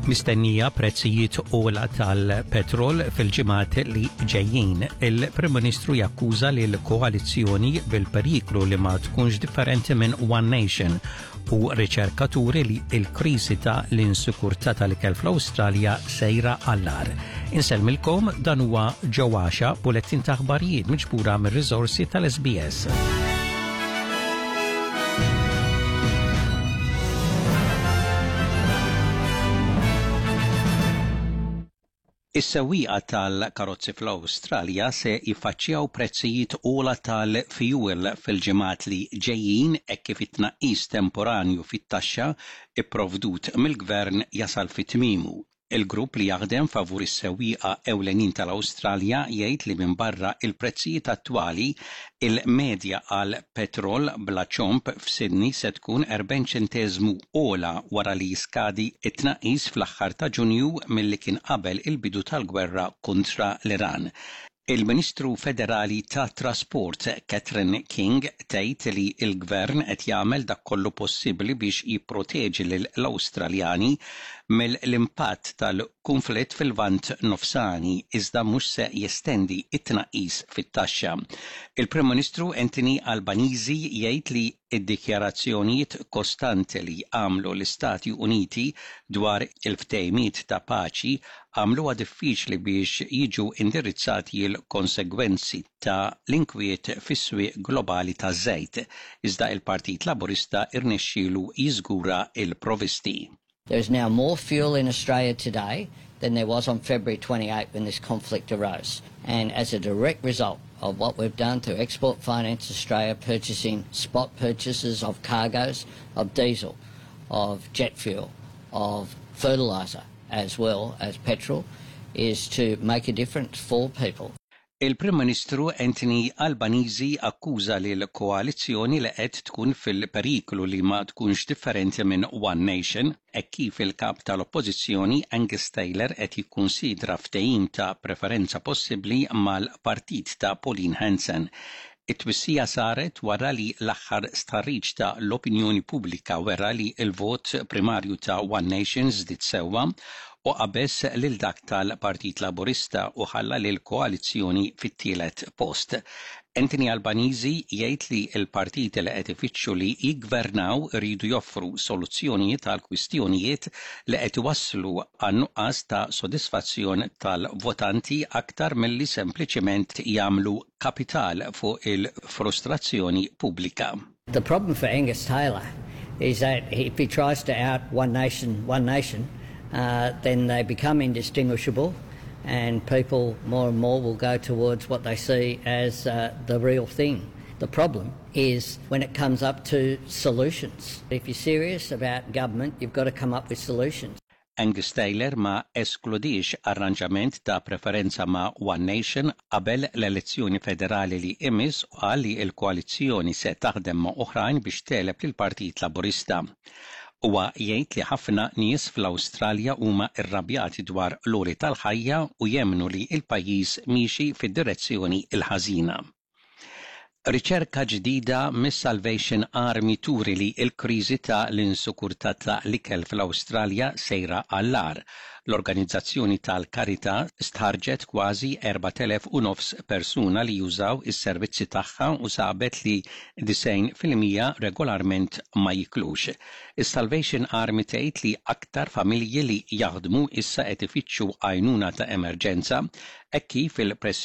Mistennija prezzijiet ogħla tal-petrol fil-ġimgħat li ġejjin. Il-Prim Ministru jakkuża lil koalizzjoni bil-periklu li ma tkunx differenti minn One Nation u riċerkaturi li l-kriżi ta' l-insikurtà tal-ikel fl-Awstralja sejra għall-agħar. Insellmilkom dan huwa ġewwaxa bulettin ta' aħbarijiet miġbura mir-riżorsi tal-SBS. Is-sewwieqa tal-karozzi fl-Awstralja se jiffaċċjaw prezzijiet ogħla tal-fjuwil fil-ġimgħat li ġejjin hekk kif it-tnaqqis temporanju fit-taxxa pprovdut mill-Gvern jasal fi tmiemu. Il-grupp li jaħdem favur is-sewwieqa ewlenin tal-Awstralja jgħid li minbarra l-prezzijiet attwali, il-medja għal petrol bla ċomb f'Sydney se tkun 40 ċenteżmu ogħla wara li jiskadi t-tnaqqis fl-aħħar ta' Ġunju milli kien qabel il-bidu tal-gwerra kontra l-Iran. Il-Ministru Federali tat-Trasport Catherine King tgħid li l-Gvern qed jagħmel dak kollu possibbli biex jipproteġi lill-Awstraljani mill-impatt tal-kunflitt fil-Lvant Nofsani iżda mhux se jestendi t-tnaqqis fit-taxxa. Il-Prim Ministru Anthony Albanese jgħid li Id-dikjarazzjonijiet kostanti li għamlu l-Istati Uniti dwar il-ftehimiet ta' paċi għamluha diffiċli biex jiġu indirizzati l-konsegwenzi ta' l-inkwiet fis-swieq globali taż-żejt, iżda l-Partit Laburista rnexxielu jiżgura l-provisti. There is now more fuel in Australia today than there was on February 28 when this conflict arose. And as a direct result of what we've done through Export Finance Australia purchasing spot purchases of cargoes of diesel, of jet fuel, of fertiliser, as well as petrol, is to make a difference for people. Il-Prim Ministru Anthony Albanese akkuża lill-koalizzjoni li qed tkun fil-periklu li ma tkunx differenti minn One Nation, hekk kif il-Kap tal-Oppożizzjoni Angus Taylor qed jikkunsidra ftehim ta' preferenza possibbli mal-partit ta' Pauline Hanson. It-twissija saret wara li l-aħħar stħarriġ ta' l-opinjoni pubblika wera li l-vot primarju ta' One Nation żdied sewwa u qabeż lil dak tal-Partit Laburista u ħalla lill-koalizzjoni fit-tielet post. Anthony Albanese jgħid li l-partiti li qed ifittxu li jiggvernaw iridu joffru soluzzjonijiet għal kwistjonijiet li qed iwasslu għan-nuqqas ta' sodisfazzjon tal-votanti aktar milli sempliċiment jagħmlu kapital fuq il-frustrazzjoni pubblika. The problem for Angus Taylor is that if he tries to out One Nation One Nation uh, then they become indistinguishable and people more and more will go towards what they see as uh, the real thing. The problem is when it comes up to solutions. If you're serious about government, you've got to come up with solutions. Angus Taylor ma eskludiex arranġament ta' preferenza ma' One Nation qabel l-elezzjoni federali li imiss u qal li l-koalizzjoni se taħdem ma' oħrajn biex tegħleb lill-Partit Laburista. Huwa jgħid li ħafna nies fl-Awstralja huma rrabjati dwar l-għoli tal-ħajja u jemmnu li l-pajjiż miexi fid-direzzjoni l-ħażina. Riċerka ġdida mis-Salvation Army turi li l-kriżi ta' l-insikurtà ta' l-ikel fl-Awstralja sejra għall-agħar. L-organizzazzjoni tal-karità stħarrġet kważi 4,500 persuna li jużaw is-servizzi tagħha u sabet li 90% regolarment ma jiklux. Is-Salvation Army tgħid li aktar familji li jaħdmu issa qed ifittxu għajnuna ta' emerġenza hekk kif il-pressjoni.